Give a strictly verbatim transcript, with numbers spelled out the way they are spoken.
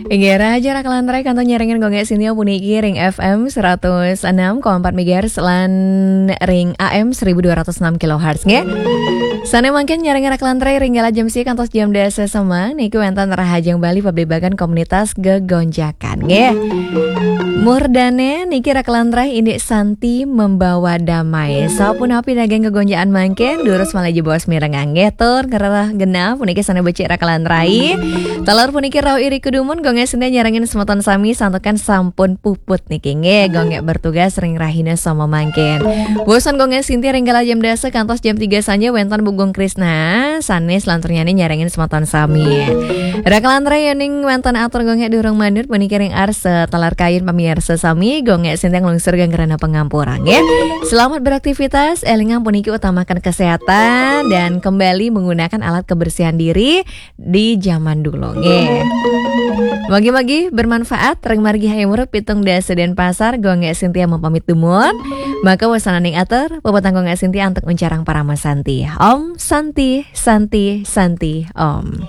Inggih, rahayu raka lan rai kantun nyarengin Gung Gek Sintia puniki ring F M seratus enam koma empat megahertz lan ring A M seribu dua ratus enam kilohertz nggih. Sane mangkin nyarengin raka lan rai ring galah jam siji kantos jam dasa semeng niki wenten rahajeng Bali pabligbagan komunitas gegonjakan nggih. Murdane niki raka lan rai indik santi membawa damai. Sapunapi daging gegonjakan mangkin, durus malih jebos mirengang nggih tur ngrereh genah puniki sane becik raka lan rai. Taler puniki rauh iri kudumun Gung Gek Sintia nyarengin semeton sami santukan sampun puput niki nggih Gung Gek bertugas ring rahina sama mangkin. Bosan Gung Gek Sintia ring galah jam dasa kantos jam tiga sanja wenten Bu Gung Krisna sane selanturnyane nyarengin semeton sami. Raka lan rai yening wenten atur Gung Gek durung manut puniki ring arsa taler kayun pamirsa sami Gung Gek Sintia nglungsur geng rena pangampura nggih. Selamat beraktivitas, elingang puniki utamakan kesehatan dan kembali menggunakan alat kebersihan diri di zaman dulu nggih. Mugi-mugi bermanfaat. Ring margi Hayam Wuruk pitung dasa Denpasar, Gung Gek Sintia mapamit dumun. Maka wasananing atur, puputang Gung Gek Sintia antuk uncarang parama santi. Om Santi, Santi, Santi, Om.